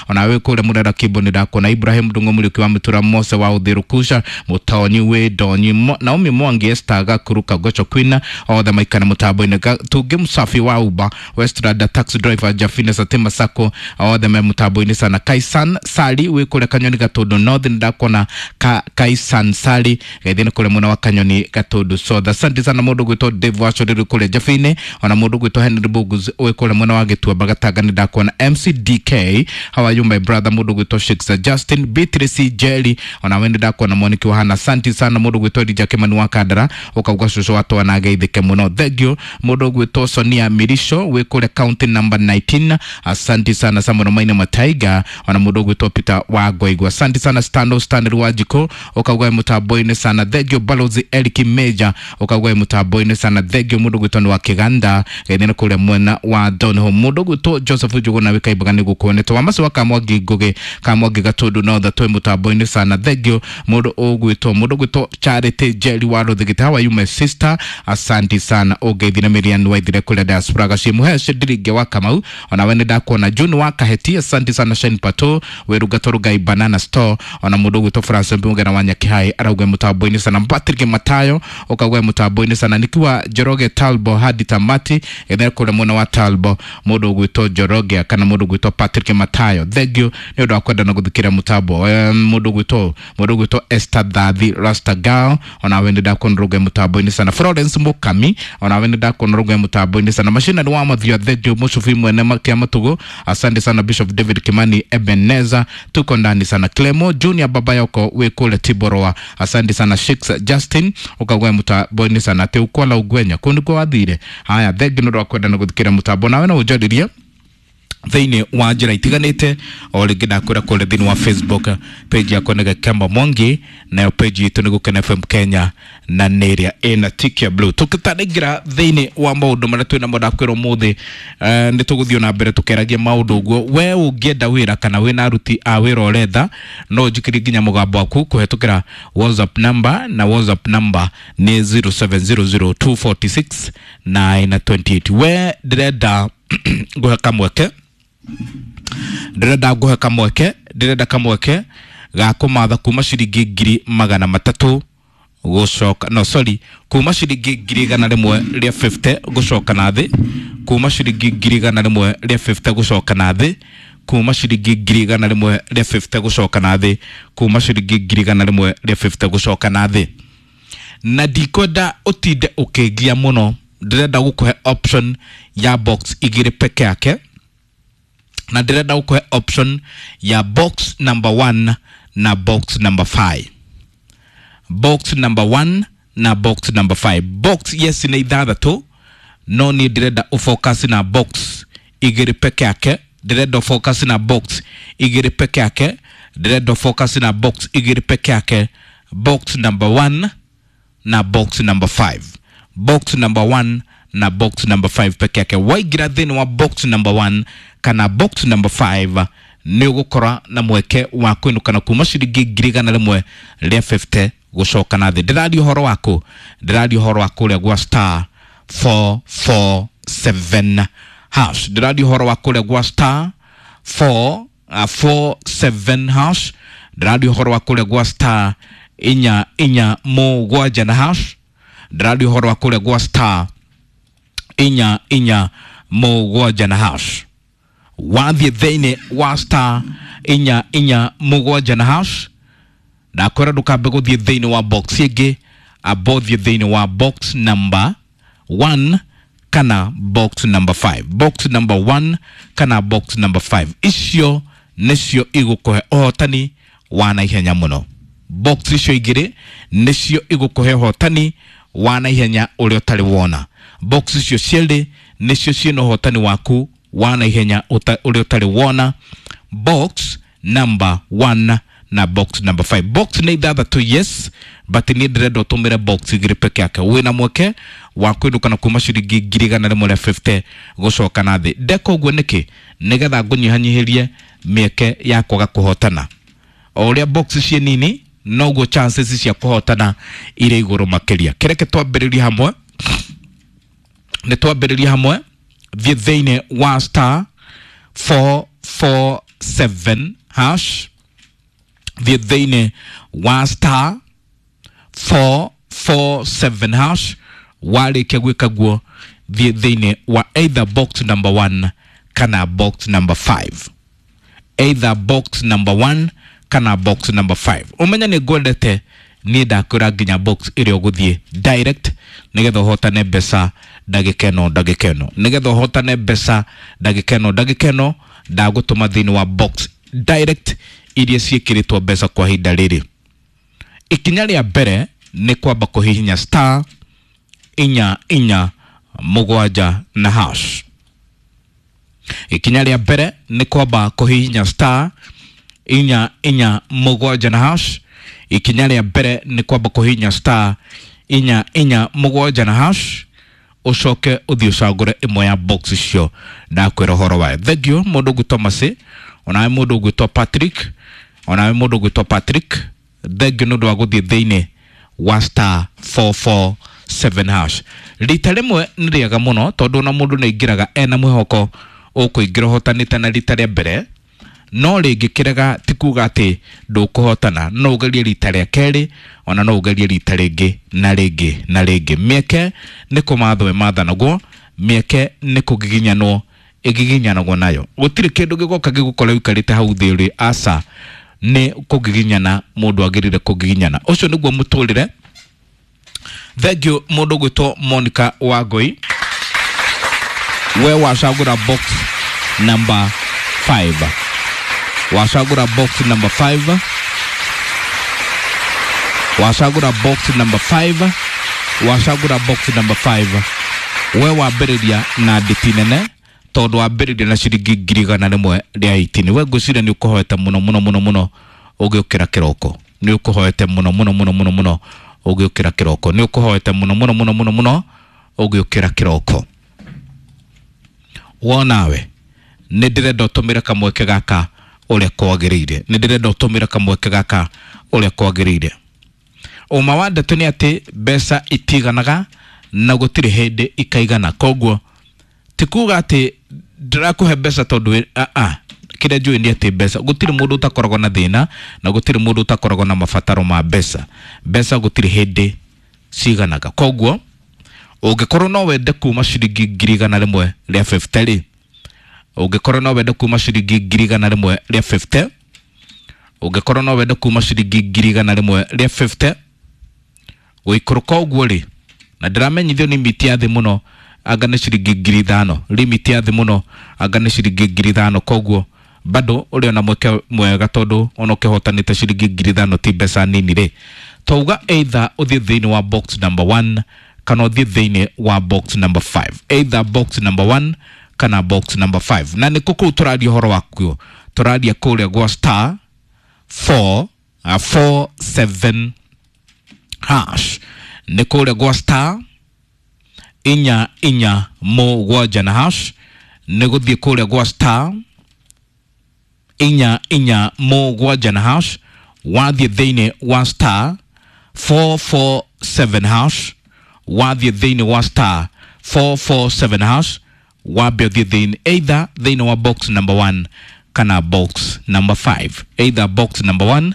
Ona we kule murera kibo ni ndakona Ibrahim Ndungu Muriuki wa Mutura Mose wa Uthirukusha Mutonyi we Donyi Naomi Mwangi Esther Gakuruka Gocho Queen othe maikana mutambo-inĩ. Tungi Msafi wa Uber Westrada taxi driver Jafina Satima Sako othe me mutambo-inĩ sana. Kaisan Sali wi kule Kanyoni Gatundu North ndakona Kaisan Sali geithĩ kule mwena wa Kanyoni Gatundu South. Asante sana mundu gwitwo Dave Wachoriri kule Jafine ona mundu gwitwo Henry Bugus wi kule mwena wa Gituamba Gatanga ni ndakona MCDK how are you my brother mundu gwitwo Shakespeare Justin Beatrice Jelly ona we ndakona Moniki wa Hana. Asante sana mundu gwitwo Elijah Kimani wa Kandara ukauga cucu wa twana ageithĩke muno. Thank you mundu gwitwo Sonia Mirisho wi kule county number 19. Asante sana Samuel Maina Mataiga ona mundu gwitwo Peter wa Ngoigwa. Asante sana Stano Stanley wa Jiko ukauga mutambo-inĩ sana. Thank you Balozi Eric Major ukauga mutambo-inĩ sana. Thank you mundu gwitwo ni wa Kiganda geithĩ kule mwena wa Donholm. Mundu gwitwo Joseph Njuguna wi Kaimbaga nĩ gukuonete wa Macu wa Kamwangi Ngugi Kamwangi Gatundu North twi mutambo-inĩ sana. Thank you mundu ugwitwo Charity Jerry wa Ruthigiti how are you my sister. Asante sana ũngeithire Miriam Waithire kule diaspora gacimuhe Shidiringe wa Kamau ona we nĩndakuona June wa Kaheti. Asante sana Shane Pato wĩrungato Rugai Banana Store ona mũndũ ũgwĩtwo Francis Mbungera wa Nyakihai arauga mũtambo-inĩ sana. Patrick Matayo ũkauga mũtambo-inĩ sana. Nikiwa Njoroge Talbo hadi tamati ethere kule mwena wa Talbo mũndũ ũgwĩtwo Njoroge kana mũndũ ũgwĩtwo Patrick Matayo. Thank you nĩ ũndũ wa kwenda na gũthikĩra mũtambo. Mũndũ ũgwĩtwo Esther Thathi Rasta Girl ona we nĩndakuona rũnga mũtambo-inĩ sana. Florence Mukami ona we nĩndakuona rũnga mũtambo-inĩ sana. Machina ni wa Mathia. Thank you Mushufi mwene kia Matugo. Asante sana Bishop David Kimani Ebeneza tuko ndani sana. Clemo Junior baba yako we kule Tiboroa. Asante sana Shakes Justin ukagwa mũtambo-inĩ sana. Te ukola ugwenya kundu kwa wathire haya. Thank you nĩ ũndũ wa kwenda na gũthikĩra mũtambo nawe no ũnjarĩrie thĩinĩ wa njĩra itiganĩte o rĩngĩ ndakwĩra kũrĩa thĩinĩ wa Facebook page yakwa nĩ Gakemba Mwangi nayo page itũ nĩ Gũkena FM Kenya na nĩ ĩrĩa ĩna tick ya blue. Tũkĩtanaingĩra thĩinĩ wa maũndũ marĩa twĩ namo ndakwĩra ũmũthĩ nĩ tũgũthiĩ na mbere tũkĩaragia maũndũ ũguo. We ũngĩenda wĩra kana wĩna aruti a wĩra ũretha no ũnjikĩrie nginya mũgambo waku kũhetũkĩra WhatsApp number na WhatsApp number nĩ 0700246928. We ndĩrenda nguhe kamweke ndĩrenda nguhe kamweke ndĩrenda kamweke ga kũmatha kuma ciringi 300,000 gũcoka no sorry kuma ciringi 150,000 gũcoka na thĩ kuma ciringi 150,000 gũcoka na thĩ kuma ciringi 150,000 gũcoka na thĩ kuma ciringi 150,000 gũcoka na thĩ. Na ndikwenda ũtinde ũkĩngia mũno, ndĩrenda gũkũhe option ya box igĩrĩ peke yake na ndĩrenda gũkũhe option ya box number 1 na box number 5. Box number 1 na box number 5. Box yes nĩ ithathatũ no niĩ ndĩrenda ũfocus na box igĩrĩ peke yake, ndĩrenda ũfocus na box igĩrĩ peke yake, ndĩrenda ũfocus na box igĩrĩ peke yake, box number 1 na box number 5. Box number 1 na box number 5 peke yake. Waingĩra thĩinĩ wa box number 1 kana box number 5 nĩ ũgũkora na mweke wa kũinũkana kuma ciringi 150,000 gũcoka na thĩ. Ndĩraria ũhoro waku, ndĩraria ũhoro wa kũrĩa gwa star 447 hash. Ndĩraria ũhoro wa kũrĩa gwa star 447 hash. Ndĩraria ũhoro wa kũrĩa gwa star 447 na hash. Ndĩraria ũhoro wa kũrĩa gwa star 447 na hash. Wathiĩ thĩinĩ wa star 447 na hash ndakwĩra ndũkambe gũthiĩ thĩinĩ wa box ĩngĩ, amba ũthiĩ thĩinĩ wa box number 1 kana box number 5. Box number 1 kana box number 5 icio nĩcio igũkũhe ũhotani wa naihenya mũno. Box icio igĩrĩ nĩcio igũkũhe ũhotani wa naihenya ũrĩa ũtarĩ wona. Box icio cierĩ nĩcio ciĩna ũhotani waku wa naihenya ũrĩa ũtarĩ wona. Box number 1 na box number 5. Box nĩ ithathatũ yes, but niĩ ndĩrenda ũtũmĩre box igĩrĩ peke yake. Wĩna mweke wa kũinũkana kuma ciringi 150,000 gũcoka na thĩ. Ndeka ũguo nĩkĩ? Nĩgetha ngũnyihanyihĩrie mĩeke ya kwaga kũhotana. O ũrĩa box ciĩ nini noguo chances cia kũhotana irĩ igũrũ makĩria. Kĩreke twambĩrĩrie hamwe, nĩ twambĩrĩrie hamwe. Thiĩ thĩinĩ wa star 447 7 hash, thiĩ thĩinĩ wa star 447 hash. Warĩkia gwĩka guo, thiĩ thĩinĩ wa either box number 1 kana box number 5, either box number 1 kana box number 5. Ũmenye nĩ ngwendete niĩ, ndakwĩra nginya box ĩrĩa ũgũthiĩ direct nĩgetha ũhotane mbeca ndagĩka ĩno, ndagĩka ĩno, nĩgetha ũhotane mbeca ndagĩka ĩno, ndagĩka ĩno ndagũtũma thĩinĩ wa box direct iria ciĩkĩrĩtwo mbeca kwa ihinda rĩrĩ. Ikinya rĩa mbere nĩ kwamba kũhihinya star 4 4 7 na hash. Ikinya rĩa mbere nĩ kwamba kũhihinya star 4 4 7 na hash. Ikinya rĩa mbere nĩ kwamba kũhihinya star 4 4 7 na hash, ũcoke ũthiĩ ũcagũre ĩmwe ya box icio ndakwĩra ũhoro wayo. Thank you mũndũ ũgwĩtwo Masi, onawe mũndũ ũgwĩtwo Patrick, onawe mũndũ ũgwĩtwo Patrick, thank you nĩ ũndũ wa gũthiĩ thĩinĩ wa star 447 hash. Rita rĩmwe nĩ rĩega mũno, tondũ ona mũndũ nĩ aingĩraga ena mwĩhoko ũkũingĩra ũhotanĩte na rita rĩa mbere, no rĩngĩ kĩrega ti kuga atĩ ndũkũhotana. No ũgerie rita rĩa kerĩ, ona no ũgerie rita rĩngĩ na rĩngĩ na rĩngĩ. Mĩeke nĩ kũmathwo ĩmathanagwo, mĩeke nĩ kũgiginyanwo ĩgiginyanagwo nayo. Gũtirĩ kĩndũ gĩgoka gĩgũkora ũikarĩte hau thĩ ũrĩ, aca, nĩ kũgiginyana mũndũ agĩrĩire kũgiginyana. Ũcio nĩguo mũtũrĩre. Thank you mũndũ ũgwĩtwo Monica Wangui, we wacagũra box number 5, wacagũra box number 5, wacagũra box number 5, wacagũra box number 5. We wambĩrĩria na ndĩti nene, tondũ wambĩrĩria na ciringi 180,000. We ngwĩciria nĩ ũkũhoete mũno mũno mũno mũno ũgĩũkĩra kĩroko, nĩ ũkũhoete mũno mũno mũno mũno mũno ũgĩũkĩra kĩroko, nĩ ũkũhoete mũno mũno mũno mũno mũno ũgĩũkĩra kĩroko. Wonawe nĩ ndĩrenda ũtũmĩre kamweke gaka ũrĩa kwagĩrĩire, nĩ ndĩrenda ũtũmĩre kamweke gaka ũrĩa kwagĩrĩire. Ũma wa ndeto nĩ atĩ mbeca itiganaga na gũtirĩ hĩndĩ ikaigana. Koguo ti kuga atĩ ndĩrakũhe mbeca tondũ a kĩrĩa njũĩ nĩ atĩ mbeca, gũtirĩ mũndũ ũtakoragwo na thĩna na gũtirĩ mũndũ ũtakoragwo na mabataro ma mbeca. Mbeca gũtirĩ hĩndĩ ciganaga. Koguo ũngĩkorwo no wende kuma ciringi 150,000 rĩ, ũngĩkorwo no wende kuma ciringi 150,000, ũngĩkorwo no wende kuma ciringi 150,000 gũikũrũka ũguo rĩ, na ndĩramenyithio nĩ miti ya thĩ mũno anga nĩ ciringi 5,000, limit ya thĩ mũno anga nĩ ciringi 5,000. Koguo bado ũrĩ ona mweke mwega, tondũ ona ũkĩhotanĩte ciringi 5,000 ti mbeca nini rĩ. Twauga either ũthiĩ thĩinĩ wa box number 1 kana ũthiĩ thĩinĩ wa box number 5, either box number 1 kana box number 5. Na nĩkũ kũu tũraria ũhoro wakuo? Tũraria kũrĩa gwa star 4 4 7 hash, nĩ kũrĩa gwa star 4 4 7 na hash, nĩ gũthiĩ kũrĩa gwa star 4 4 7 na hash. Wathiĩ thĩinĩ wa star 447 hash, wathiĩ thĩinĩ wa star 447 hash, wambe ũthiĩ thĩinĩ either thĩinĩ wa box number 1 kana box number 5, either box number 1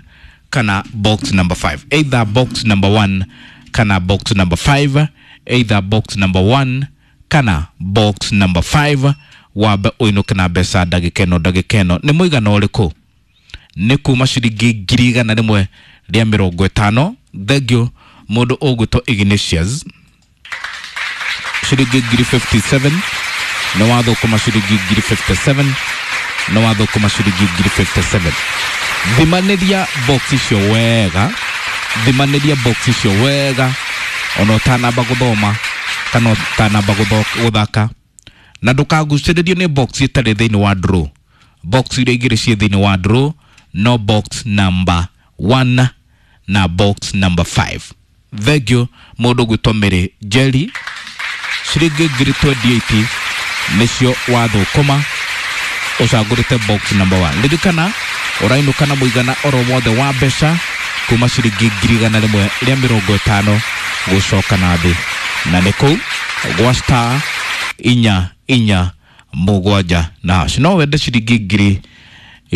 kana box number 5, either box number 1 kana box number 5, either box number 1 kana box number 5. Wambe ũinũke na mbeca ndagĩka ĩno, ndagĩka ĩno. Nĩ mũigana ũrĩkũ? Nĩ kuma ciringi 150,000. Thank you mũndũ ũgwĩtwo Ignatius, ciringi 57,000 nĩ wathũkũma, ciringi 57,000 nĩ wathũkũma, ciringi 57,000. Thimanĩria box icio wega, thimanĩria box icio wega ona ũtanamba gũthoma kana ũtanamba gũthaka, na ndũkagucĩrĩrio nĩ box ĩtarĩ thĩinĩ wa draw. Box iria igĩrĩ ciĩ thĩinĩ wa draw no box number 1 na box number 5. Thank you mũndũ ũgwĩtwo Mary Jerry, ciringi 28,000 nĩcio wathũkũma ũcagũrĩte box number 1. Ririkana ũrainũka na mũigana oro wothe wa mbeca kuma ciringi 150,000 gũcoka na thĩ, na nĩ kũu gwa star 4 4 7 na hash. No wende ciringi ngiri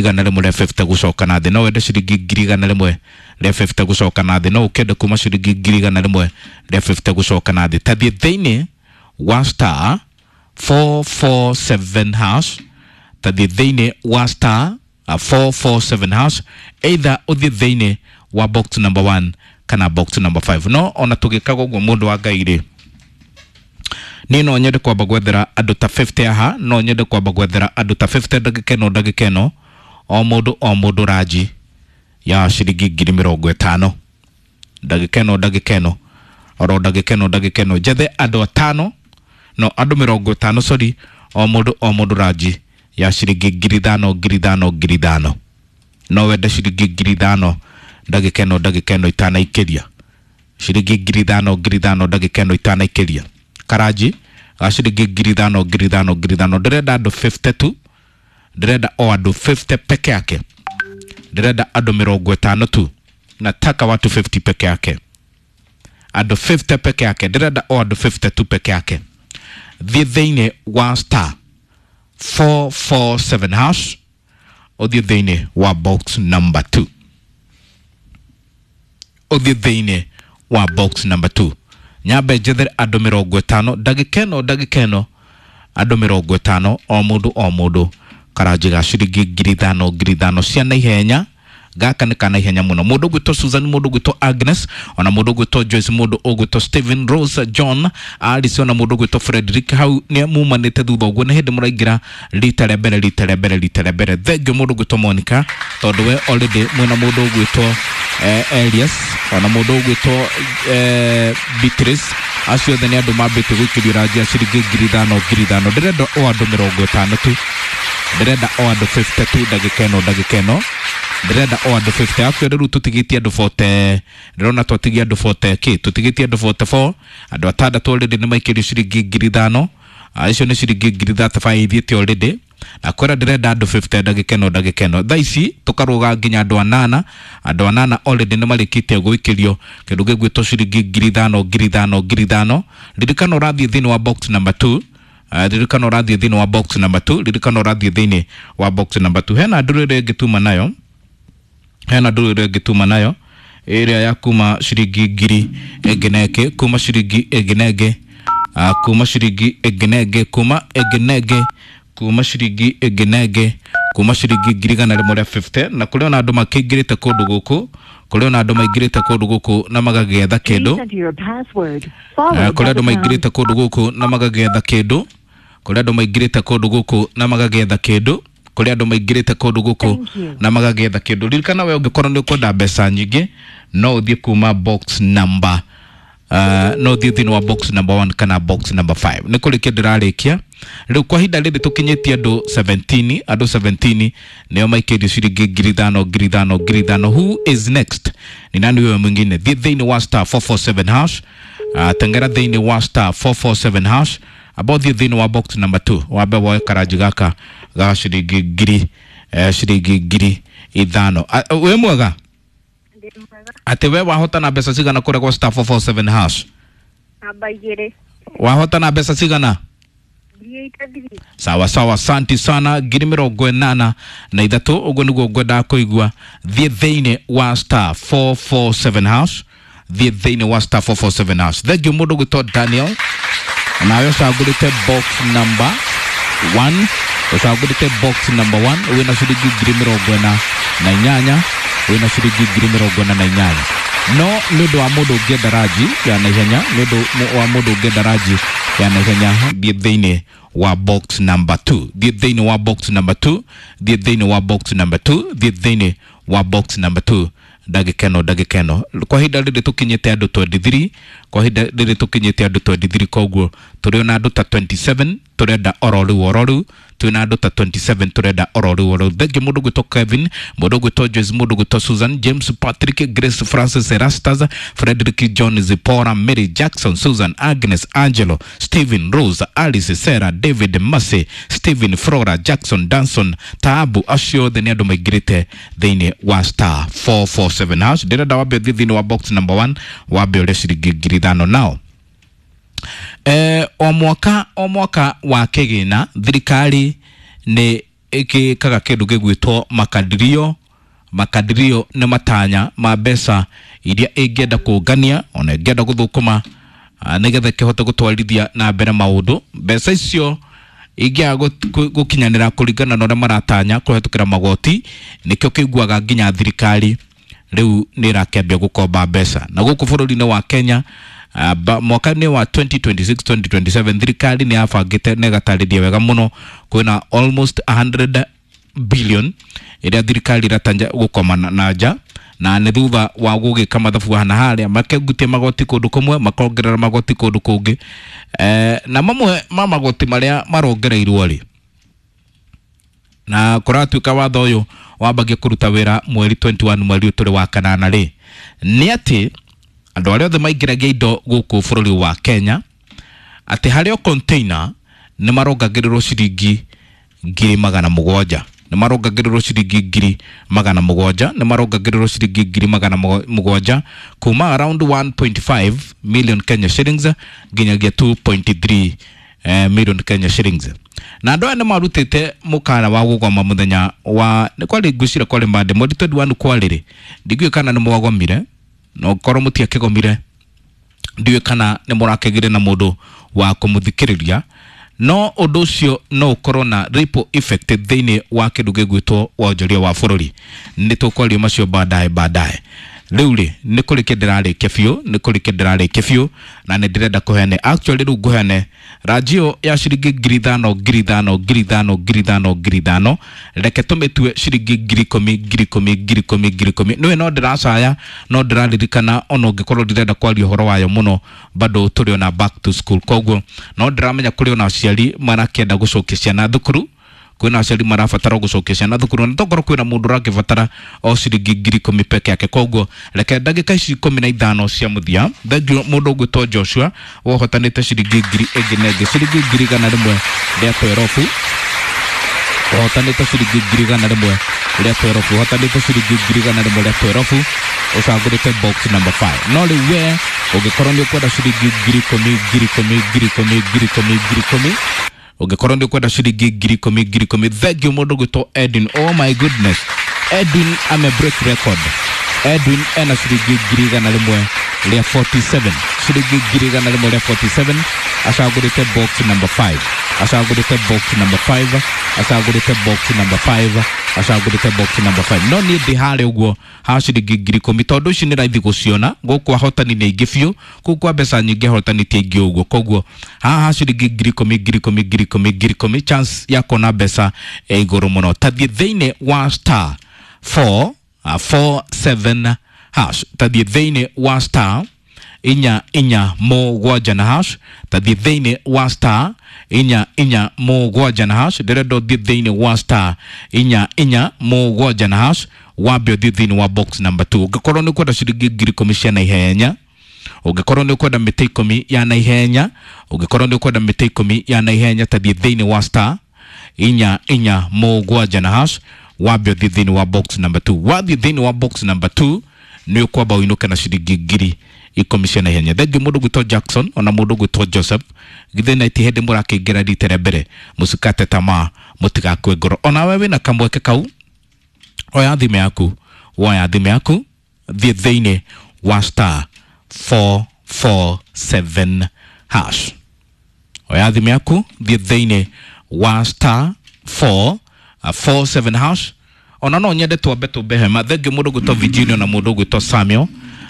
150 gucoka na thĩ. No wende ciringi 150,000 gucoka na thĩ. No ũkende kuma ciringi 150,000 gucoka na thĩ. Tathiĩ thĩinĩ wa star 447 hash, tathiĩ thĩinĩ wa star 447 hash, either ũthiĩ thĩinĩ wa box number 1 kana box number 5. No ona tũgĩkaga ũguo mũndũ wa Ngai rĩ, niĩ no nyende kwamba gwethera andũ ta 50 aha, no nyende kwamba gwethera andũ ta 50 ndagĩka ĩno, ndagĩka ĩno, o mũndũ o mũndũ ranji ya ciringi 50,000 ndagĩka ĩno, ndagĩka ĩno, oro ndagĩka ĩno, ndagĩka ĩno, njethe andũ atano, no andũ 50, sorry, o mũndũ o mũndũ ranji ya ciringi 5,000 5,000 5,000. No wende ciringi 5,000 ndagĩka ĩno, ndagĩka ĩno itanaikĩria ciringi 5,000 5,000 ndagĩka ĩno itanaikĩria karanji ga ciringi 5,000 5,000 5,000. Ndĩrenda andũ 50 tu, ndĩrenda o andũ 50 peke yake, ndĩrenda andũ 50 tu, nataka watu 50 peke yake, andũ 50 peke yake, ndĩrenda o andũ 50 tu peke yake. Thiĩ thĩinĩ wa star 447 hash, ũthiĩ thĩinĩ wa box number 2, ũthiĩ thĩinĩ wa box number 2, nyambe njethere andũ 50 ndagĩka ĩno, ndagĩka ĩno, andũ 50, o mũndũ o mũndũ karanji ga ciringi 5,000 5,000 cia naihenya. Gaka nĩ ka naihenya mũno. Mũndũ ũgwĩtwo Susan, mũndũ ũgwĩtwo Agnes, ona mũndũ ũgwĩtwo Joyce, mũndũ ũgwĩtwo Stephen, Rose, John, Alice, ona mũndũ ũgwĩtwo Frederick, hau nĩ mumanĩte thutha ũguo, nĩ hĩndĩ mũraingĩra rita rĩa mbere, rita rĩa mbere, rita rĩa mbere. Thank you mũndũ ũgwĩtwo Monica, tondũ we already mwĩna mũndũ ũgwĩtwo Elias, ona mũndũ ũgwĩtwo Beatrice. Acio othe nĩ andũ mambĩte gũikĩrio ranji ya ciringi 5,000 5,000. Ndĩrenda o andũ 50 tu, ndĩrenda o andũ 50 tu ndagĩka ĩno, ndagĩka ĩno, ndĩrenda o andũ 50. Actually rĩu tũtigĩtie andũ 40, ndĩrona twatigia andũ 40 kĩ, tũtigĩtie andũ 44, andũ atandatũ already nĩ maikĩrio ciringi 5,000. Icio nĩ ciringi 35,000 ithiĩte already, na kwĩra ndĩrenda andũ 50 ndagĩka ĩno, ndagĩka ĩno. Thaa ici tũkarũga nginya andũ anana, andũ anana already nĩ marĩkĩtie gũikĩrio kĩndũ gĩgwĩtwo ciringi 5,000 5,000 5,000. Ririkana ũrathiĩ thĩinĩ wa box number 2, ririkana ũrathiĩ thĩinĩ wa box number 2, ririkana ũrathiĩ thĩinĩ wa box number 2. Hena ndũrũ ĩrĩa ĩngĩ nayo, hena ndũrũ ĩrĩa ĩngĩ tuma nayo ĩrĩa ya kuma ciringi 1,000 na ĩngĩ, kuma ciringi ĩngĩ na ĩngĩ, kuma ciringi ĩngĩ na ĩngĩ, kuma ĩngĩ na ĩngĩ, kuma ciringi ĩngĩ na ĩngĩ, kuma ciringi 150,000. Na kũrĩ ona andũ makĩingĩrĩte kũndũ gũkũ, kũrĩ ona andũ maingĩrĩte kũndũ gũkũ na magagĩetha kĩndũ, kũrĩ andũ maingĩrĩte kũndũ gũkũ na magagĩetha kĩndũ, kũrĩ andũ maingĩrĩte kũndũ gũkũ na magagĩetha kĩndũ, kũrĩ andũ maingĩrĩte kũndũ gũkũ na magagĩetha kĩndũ. Ririkana we ũngĩkorwo nĩ ũkwenda mbeca nyingĩ, no ũthiĩ kuma box number no ũthiĩ thĩinĩ wa box number 1 kana box number 5. Nĩ kũrĩkia ndĩrarĩkia rĩu kwa ihinda rĩrĩ tũkinyĩtie andũ 17, andũ 17 nĩo maikĩrio ciringi 5,000 5,000 5,000. Who is next? Ni nani huyo mwingine? Thiĩ thĩinĩ wa star 447 hash, tengera thĩinĩ wa star 447 hash, amba ũthiĩ thĩinĩ wa box number 2, wambe woe karanji gaka ga ciringi ngiri, ciringi 5,000. Wĩ mwega atĩ we wahota na mbeca cigana kũrĩa gwa star 447 hash? Namba 2. Wahota na mbeca cigana? 83. Sawa sawa, asanti sana. 83,000, ũguo nĩguo ngwendaga kũigua. Thiĩ thĩinĩ wa star 447 hash, thiĩ thĩinĩ wa star 447 hash. Thank you mũndũ ũgwĩtwo Daniel, nawe ũcagũrĩte box number 1, ũcagũrĩte box number 1, wĩna ciringi 48,000, wĩna ciringi 48,000. No nĩ ũndũ wa mũndũ ũngĩenda ranji ya naihenya, nĩ ũndũ wa mũndũ ũngĩenda ranji ya naihenya, thiĩ thĩinĩ wa box number 2, thiĩ thĩinĩ wa box number 2, thiĩ thĩinĩ wa box number 2, thiĩ thĩinĩ wa box number 2 ndagĩka ĩno, ndagĩka ĩno. Kwa ihinda rĩrĩ tũkinyĩte andũ 23, kwa ihinda rĩrĩ tũkinyĩte andũ 23, koguo tũrĩ ona andũ ta 27 tũrenda oro rĩu oro rĩu, twĩna andũ ta 27 tũrenda oro rĩu oro rĩu. Thank you mũndũ ũgwĩtwo Kevin, mũndũ ũgwĩtwo Joyce, mũndũ ũgwĩtwo Susan, James, Patrick, Grace, Francis, Erastus, Frederick, John, Zipporah, Mary, Jackson, Susan, Agnes, Angelo, Stephen, Rose, Alice, Sarah, David, Mercy, Stephen, Flora, Jackson, Danson, Taabu, acio othe nĩ andũ maingĩrĩte thĩinĩ wa star 447 hash. Ndĩrenda wambe ũthiĩ thĩinĩ wa box number 1, wambe ũrĩe ciringi 5,000 nao. O mwaka o mwaka wa kĩgĩna thirikari nĩ ĩgĩkaga kĩndũ gĩgwĩtwo makadirio. Makadirio nĩ matanya ma mbeca iria ĩngĩenda kũngania ona ĩngĩenda gũthũkũma nĩgetha ĩkĩhote gũtwarithia na mbere maũndũ. Mbeca icio ingĩaga gũkinyanĩra kũringana na ũrĩa maratanya kũhetũkĩra magoti, nĩkĩo kĩiguaga nginya thirikari rĩu nĩ ĩrakĩambia gũkomba mbeca. Na gũkũ bũrũri-inĩ wa Kenya, mwaka-inĩ wa 2026 2027 thirikari nĩ yabangĩte na ĩgatarĩria wega mũno kwĩna almost 100 billion ĩrĩa thirikari ĩratanya gũkoma na nja, na nĩ thutha wa gũgĩka mathabu haha na harĩa, makengutia magoti kũndũ kũmwe, makongerera magoti kũndũ kũngĩ, na mamwe ma magoti marĩa marongereirwo rĩ, na kũratuĩka watho ũyũ wambagia kũruta wĩra mweri 21 mweri ũyũ tũrĩ wa kanana rĩ, nĩ atĩ andũ arĩa othe maingĩragia indo gũkũ bũrũri wa Kenya, atĩ harĩ o container nĩ marongagĩrĩrwo ciringi 700,000, nĩ marongagĩrĩrwo ciringi 700,000, nĩ marongagĩrĩrwo ciringi 700,000 kuma around 1.5 million Kenya shillings nginyagia 2.3 million Kenya shillings. Na andũ aya nĩ marutĩte mũkana wa gũgoma mũthenya wa nĩ kwarĩ ngwĩciria kwarĩ Monday mweri 21 kwarĩrĩ, ndingĩũĩ kana nĩ mwagomire, no korwo mũtiakĩgomire ndiũĩ kana nĩ mũrakĩgire na mũndũ wa kũmũthikĩrĩria, no ũndũ ũcio no ũkorwo na ripple effect thĩinĩ wa kĩndũ gĩgwĩtwo wonjoria wa bũrũri. Nĩ tũkwaria macio baadaye baadaye. Rĩu rĩ, nĩ kũrĩkia ndĩrarĩkia biũ, nĩ kũrĩkia ndĩrarĩkia biũ, na nĩ ndĩrenda kũheane, actually rĩu ngũheane ranjio ya ciringi 5,000 5,000 5,000 5,000 5,000, reke tũmĩtue ciringi 10,000 10,000 10,000 10,000. Nĩwe no ndĩracaya, no ndĩraririkana ona ũngĩkorwo ndirenda kwaria ũhoro wayo mũno, bado tũrĩ ona back to school, koguo no ndĩramenya kũrĩ ona aciari marakĩenda gũcokia ciana thukuru, kwĩna aciari marabatara gũcokia ciana thukuru, na tokorwo kwĩna mũndũ ũrakĩbatara o ciringi 10,000 peke yake. Koguo reke ndagĩka ici 15 cia mũthia, thengiũ mũndũ ũgwĩtwo Joshua wohotanĩte ciringi ngiri ĩngĩ na ĩngĩ, ciringi 112,000, ũhotanĩte ciringi 112,000, ũhotanĩte ciringi 112,000, ũcagũrĩte box number 5. No rĩu we ũngĩkorwo nĩ ũkwenda ciringi 10,000 10,000 10,000 10,000 10,000, ũngĩkorwo nĩ ũkwenda ciringi 10,000 10,000, thank you mũndũ ũgwĩtwo Edwin. Oh my goodness, Edwin ame break record. Edwin ena ciringi 147, ciringi 147, acagũrĩte box number 5, acagũrĩte box number 5, acagũrĩte box number 5, acagũrĩte box number 5. No niĩ ndĩ harĩa ũguo ha ciringi 10,000, tondũ ici nĩ raithi gũciona gũkũ, ahotani nĩ aingĩ biũ, kũu kwa mbeca nyingĩ ahotani ti aingĩ ũguo, koguo haha ha ciringi 10,000 10,000 10,000 10,000, chance ya kuona mbeca ĩ igũrũ mũno. Tathiĩ thĩinĩ wa star 4 47 hash, tathiĩ thĩinĩ wa star 4 4 7 na hash, tathiĩ thĩinĩ wa star 4 4 7 na hash, ndĩrenda ũthiĩ thĩinĩ wa star 4 4 7 na hash, wambe ũthiĩ thĩinĩ wa box number 2. Ũngĩkorwo nĩ ũkwenda ciringi 10,000 cia naihenya, ũngĩkorwo nĩ ũkwenda mĩtĩ 10 ya naihenya, ũngĩkorwo nĩ ũkwenda mĩtĩ 10 ya naihenya, tathiĩ thĩinĩ wa star 4 4 7 na hash, wambe ũthiĩ thĩinĩ wa box number 2. Wathiĩ thĩinĩ wa box number 2 nĩ ũkwamba ũinũke na ciringi 10,000 cia naihenya. Thengiũ mũndũ ũgwĩtwo Jackson ona mũndũ ũgwĩtwo Joseph, githĩ na ti hĩndĩ mũrakĩingĩra rita rĩa mbere, mũcikate tamaa, mũtigakue ngoro. Onawe wĩna kamweke kau, oya thimũ yaku, woya thimũ yaku, thiĩ thĩinĩ wa star 447 hash, oya thimũ yaku, thiĩ thĩinĩ wa star 447 hash. Ona no nyende twambe tũmbe hema. Thengiũ mũndũ ũgwĩtwo Virginia na mũndũ ũgwĩtwo Samuel,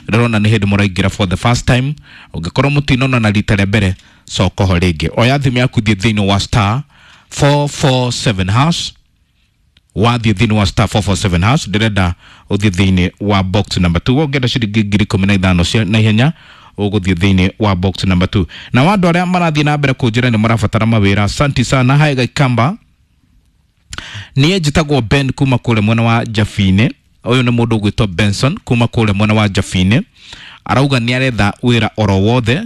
ndĩrona nĩ hĩndĩ mũraingĩra for the first time. Ũngĩkorwo mũtinona na rita rĩa mbere, coka ho rĩngĩ, oya thimũ yaku, thiĩ thĩinĩ wa star 447 hash. Wathiĩ thĩinĩ wa star 447 hash, ndĩrenda ũthiĩ thĩinĩ wa box number 2. Ũngĩenda ciringi 15,000 cia naihenya, ũgũthiĩ thĩinĩ wa box number 2. Na wa andũ arĩa marathiĩ na mbere kũnjĩra nĩ marabatara mawĩra, asanti sana. Hai Gaikamba, niĩ njĩtagwo Ben kuma kũrĩa mwena wa Jabini. Ũyũ nĩ mũndũ ũgwĩtwo Benson kuma kũrĩa mwena wa Jabini, arauga nĩ aretha wĩra oro wothe,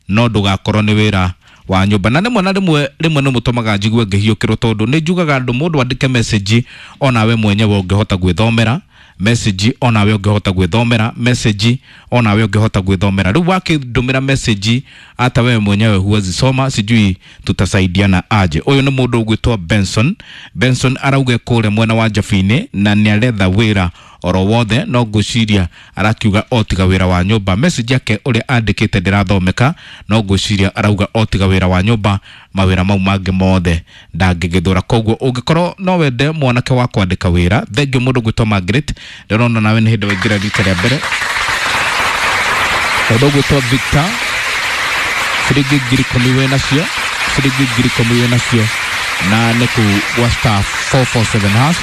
no ndũgakorwo nĩ wĩra wa nyũmba. Na rĩmwe na rĩmwe rĩmwe nĩ mũtũmaga njigue ngĩhiũkĩrwo, tondũ nĩ njugaga andũ mũndũ andĩke message onawe mwenyewe ũngĩhota gwĩthomera, Message onawe ũngĩhota gwĩthomera, message onawe ũngĩhota gwĩthomera. Rĩu wakĩndũmĩra message hata wewe mwenyewe huwezi soma, sijui tutasaidiana aje. Ũyũ nĩ mũndũ ũgwĩtwo Benson. Benson arauga kũrĩa mwena wa Jabini na nĩaretha wĩra oro wothe, no ngwĩciria arakiuga o tiga wĩra wa nyũmba. Message yake ũrĩa andĩkĩte ndĩrathomeka, no ngwĩciria arauga o tiga wĩra wa nyũmba, mawĩra mau mangĩ mothe ndangĩgĩthũra. Koguo ũngĩkorwo no wende mwanake wa kwandĩka wĩra, thengiũ mũndũ gwĩtwo Margaret, ndĩrona nawe nĩ hĩndĩ waingĩra rita rĩa mbere. Mũndũ ũgwĩtwo Victor, ciringi 10,000 wĩ nacio, ciringi 10,000 wĩ nacio, na nĩ kuu gwa star 447 hash.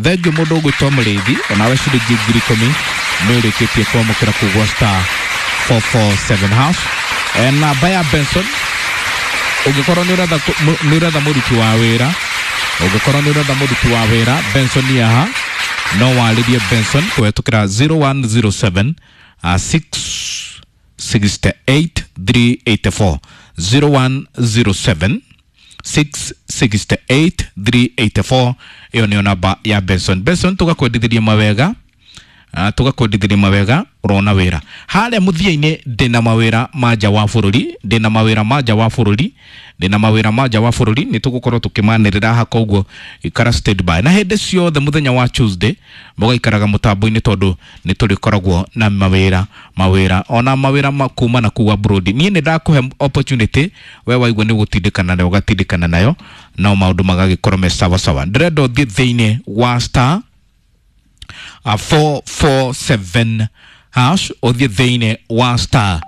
Thengiũ mũndũ ũgwĩtwo Mũrĩithi, onawe ciringi 10,000 nĩ ũrĩkĩtie kwamũkĩra kuu gwa star 447 hash. Namba ya Benson, ũngĩkorwo nĩ ũretha mũruti wa wĩra, ũngĩkorwo nĩ ũretha mũruti wa wĩra, Benson nĩ haha, no warĩrie Benson kũhetũkĩra 0107 668 384, 0107 668 384. Ĩyo nĩyo namba ya Benson. Benson, tũgakwendithĩria mawega, tũgakwendithĩria mawega ũrona wĩra harĩa mũthia-inĩ. Ndĩna mawĩra ma nja wa bũrũri, ndĩna mawĩra ma nja wa bũrũri, ndĩna mawĩra ma nja wa bũrũri, nĩ tũgũkorwo tũkĩmanĩrĩra haha, koguo ikara stand by na hĩndĩ ciothe mũthenya wa Tuesday mũgaikaraga mũtambo-inĩ, tondũ nĩ tũrĩkoragwo na mawĩra, mawĩra ona mawĩra ma kuma na kuu abroad. Niĩ nĩ ndakũhe opportunity, we waigua nĩ gũtindĩkana nayo ũgatindĩkana nayo, no maũndũ magagĩkorwo me sawa sawa. Ndĩrenda ũthiĩ thĩinĩ wa star 447 hash, ũthiĩ thĩinĩ wa star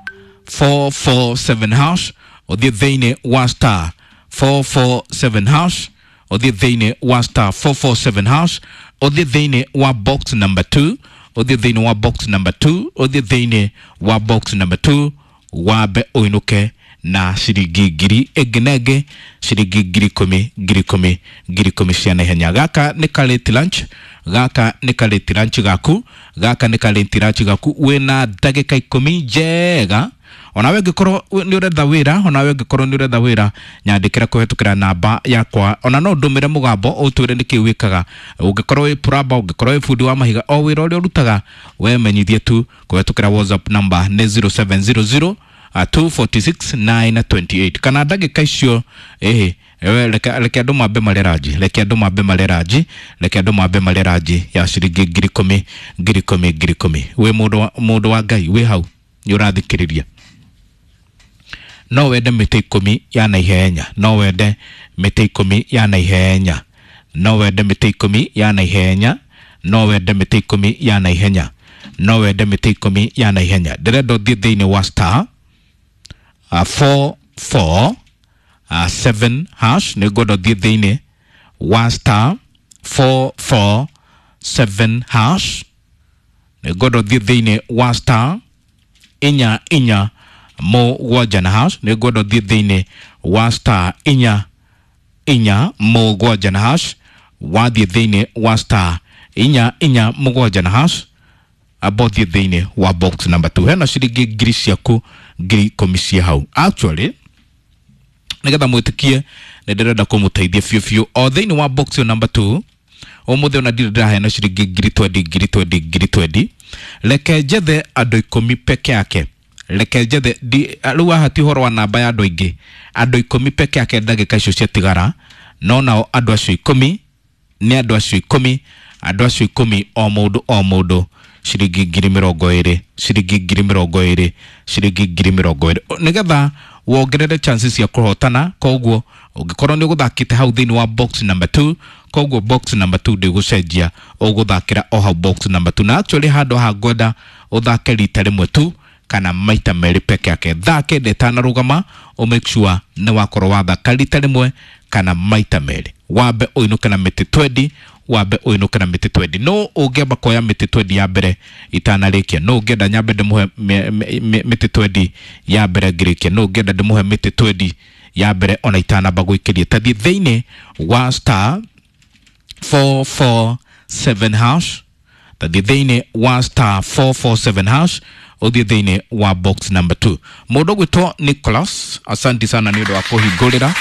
447 hash, ũthiĩ thĩinĩ wa star 447 hash, ũthiĩ thĩinĩ wa star 447 hash, ũthiĩ thĩinĩ wa box number 2, ũthiĩ thĩinĩ wa box number 2, ũthiĩ thĩinĩ wa box number 2, wambe ũinũke na ciringi ngiri ĩngĩ na ĩngĩ, ciringi 10,000, 10,000, 10,000 cia naihenya. Gaka nĩ ka late lunch, gaka nĩ ka late lunch gaku, gaka nĩ ka late lunch gaku. Wĩna ndagĩka 10 njega. Onawe ũngĩkorwo nĩ ũretha wĩra, onawe ũngĩkorwo nĩ ũretha wĩra, nyandĩkĩra kũhetũkĩra namba yakwa, ona no ndũmĩre mũgambo ũtwĩre nĩkĩ wĩkaga. Ũngĩkorwo wĩ plumber, ũngĩkorwo wĩ bundi wa mahiga, o wĩra ũrĩa ũrutaga, we menyithie tu kũhetũkĩra WhatsApp number nĩ 0700 246 928. Kana ndagĩka icio ĩhĩ, reke andũ mambe marĩ ranji, reke andũ mambe marĩ ranji, reke andũ mambe marĩ ranji ya ciringi 10,000, 10,000, 10,000. Wĩ mũndũ wa Ngai wĩ hau nĩ ũrathikĩrĩria, no wende mĩtĩ 10 ya naihenya, no wende mĩtĩ 10 ya naihenya, no wende mĩtĩ 10 ya naihenya, no wende mĩtĩ 10 ya naihenya, no wende mĩtĩ 10 ya naihenya. Ndĩrenda ũthiĩ thĩinĩ wa star 4 4 7 hash, nĩ ngwenda ũthiĩ thĩinĩ wa star 4 4 7 hash, nĩ ngwenda ũthiĩ thĩinĩ wa star 4 4 7 na hash, nĩ ngwenda ũthiĩ thĩinĩ wa star 4 4 7 na hash. Wathiĩ thĩinĩ wa star 4 4 7 na hash, amba ũthiĩ thĩinĩ wa box number 2, hena ciringi ngiri ciaku 10,000 cia hau. Actually, nĩgetha mwĩtĩkie nĩ ndĩrenda kũmũteithia biũ biũ, o thĩinĩ wa box ĩyo number 2 ũmũthĩ ona ndirĩ ndĩraheana ciringi 20,000, 20,000, 20,000. Reke njethe andũ 10 peke yake, reke njethe rĩu haha ti ũhoro wa namba ya andũ aingĩ, andũ 10 peke yake ndagĩka icio ciatigara, no nao andũ acio 10 nĩ andũ acio 10, andũ acio 10, o mũndũ o mũndũ ciringi 20,000, ciringi 20,000, ciringi 20,000, nĩgetha wongerere chances cia kũhotana. Koguo ũngĩkorwo nĩ ũgũthakĩte hau thĩinĩ wa box number 2, koguo box number 2 ndĩgũcenjia, ũgũthakĩra o hau box number 2. Na actually handũ haha ngwenda ũthake rita rĩmwe tu kana maita merĩ peke yake. Thaa 9 ĩtanarũgama, ũ make sure nĩ wakorwo wathaka rita rĩmwe kana maita merĩ, wambe ũinũke na mĩtĩ 20, wambe ũinũke na mĩtĩ 20. No ũngĩamba kuoya mĩtĩ 20 ya mbere itanarĩkia, no ũngĩenda nyambe ndĩmũhe mĩtĩ 20 ya mbere ngĩrĩkia, no ũngĩenda ndĩmũhe mĩtĩ 20 ya mbere ona itanamba gũikĩria. Tathiĩ thĩinĩ wa star 447 hash, tathiĩ thĩinĩ wa star 447 hash, ũthiĩ thĩinĩ wa box number 2. Mũndũ ũgwĩtwo Nicholas, asanti sana nĩ ũndũ wa kũhingũrĩra.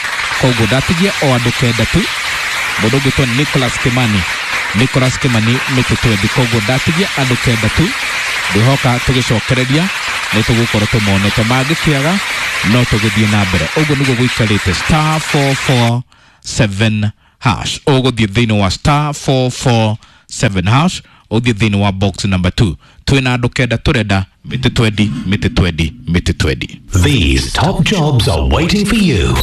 Koguo ndatigia o andũ 9 tu. Mũndũ ũngĩtwo Nicholas Kimani, Nicholas Kimani mĩtĩ twendi. Koguo ndatigia andũ 9 tu, ngwĩhoka tũgĩcokereria nĩ tũgũkorwo tũmonete, mangĩkĩaga no tũgĩthiĩ na mbere. Ũguo nĩguo gũikarĩte. Star 447 hash, ũgũthiĩ thĩinĩ wa star 447 hash, ũthiĩ thĩinĩ wa box number 2. Twĩna andũ 9 tũrenda mĩtĩ twendi, mĩtĩ twendi, mĩtĩ twendi. These top jobs are waiting for you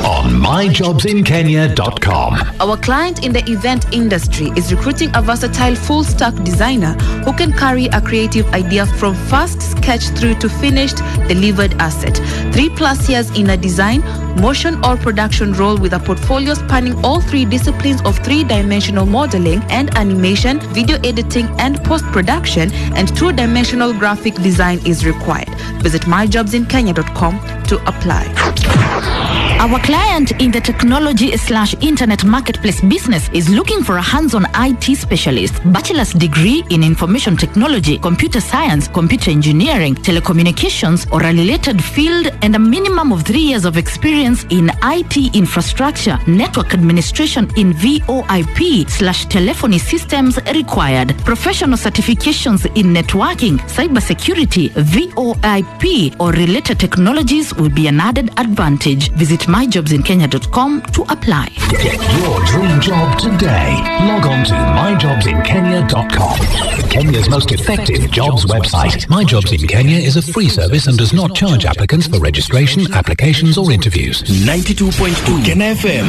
on myjobsinkenya.com. Our client in the event industry is recruiting a versatile full stack designer who can carry a creative idea from first sketch through to finished delivered asset. 3+ years in a design, motion, or production role with a portfolio spanning all three disciplines of three dimensional modeling and animation, video editing and post production, and two dimensional graphic design is required. Visit myjobsinkenya.com to apply. Our client in the technology slash internet marketplace business is looking for a hands-on IT specialist, bachelor's degree in information technology, computer science, computer engineering, telecommunications, or a related field, and a minimum of 3 years of experience in IT infrastructure, network administration in VoIP slash telephony systems required. Professional certifications in networking, cybersecurity, VoIP, or related technologies will be an added advantage. Visit myjobsinkenya.com to apply. Get your dream job today. Log on to myjobsinkenya.com. Kenya's most effective jobs website. My Jobs in Kenya is a free service and does not charge applicants for registration, applications, or interviews. 92.2 Kena FM.